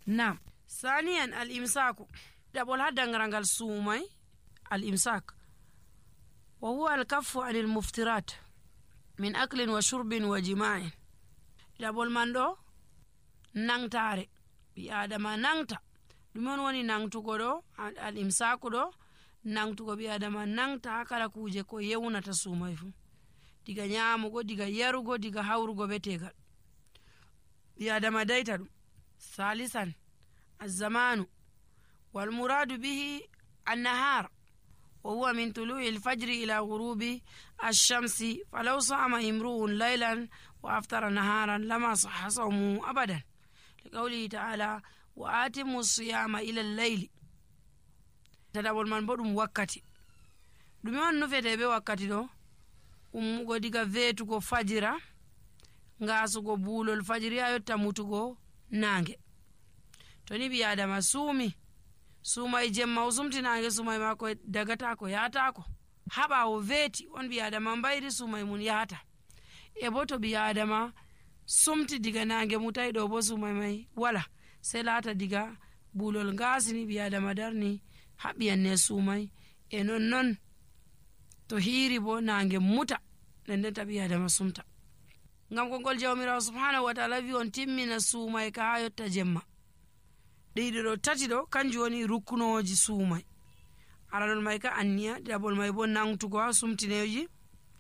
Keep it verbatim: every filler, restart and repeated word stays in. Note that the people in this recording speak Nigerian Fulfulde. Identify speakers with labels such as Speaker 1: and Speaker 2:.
Speaker 1: Nam. Saniyan al-imsaku. Ɗaɓol ha dangarangal suumay al-imsak wa huwa al-kaffu anil muftirat min aklin wa shurbin wa jima'in. Ɗaɓol man ɗo nangtare. Ɓi adama nangta. Ɗume on woni nangtugo ɗo? Al-imsaku ɗo nangtugo ɓi adama nangta ha kala kuje ko yewnata suumay fu, diga nyamugo, diga yarugo, diga hawrugo be tegal. Ɓi adama dayta ɗum. Salisan az-zamanu wal muradu bihi an-nahar wa huwa min tulu'i al-fajri ila ghurubi ash-shamsi falaw sa'ama imru'un laylan wa aftara naharan lama sahha sawmuhu abadan liqawlihi ta'ala wa atimu as-siyama ila al-layli. Ɗaɓol man bo ɗum wakkati. Ɗume on nufete be wakkati ɗo? Ummugo diga vetugo fajira ngasugo bulol fajiri ha yotta mutugo nange. To ni ɓi adama suumi suumay jemma o sumti nange suumay mako dagatako yatako, ha ɓawo veeti on ɓi adama mbayri suumay mun yahata. E bo to ɓi adama sumti diga nange mutai ɗo bo suumay may wala, sai lata diga bulol ngasini ɓi adama darni haɓiyanne suumay. E non non to hiiri bo nange muta ndendenta ɓi adama sumta. Ngam kongol jawmirawo subhanahu wa ta'ala wi on timmina suumay ka ha yotta jemma. Ɗiɗi ɗo tati ɗo kanjum woni rukkunoji suumay. Aranol may ka anniya, ɗiɗaɓol may bo nangtugo ha sumtineji,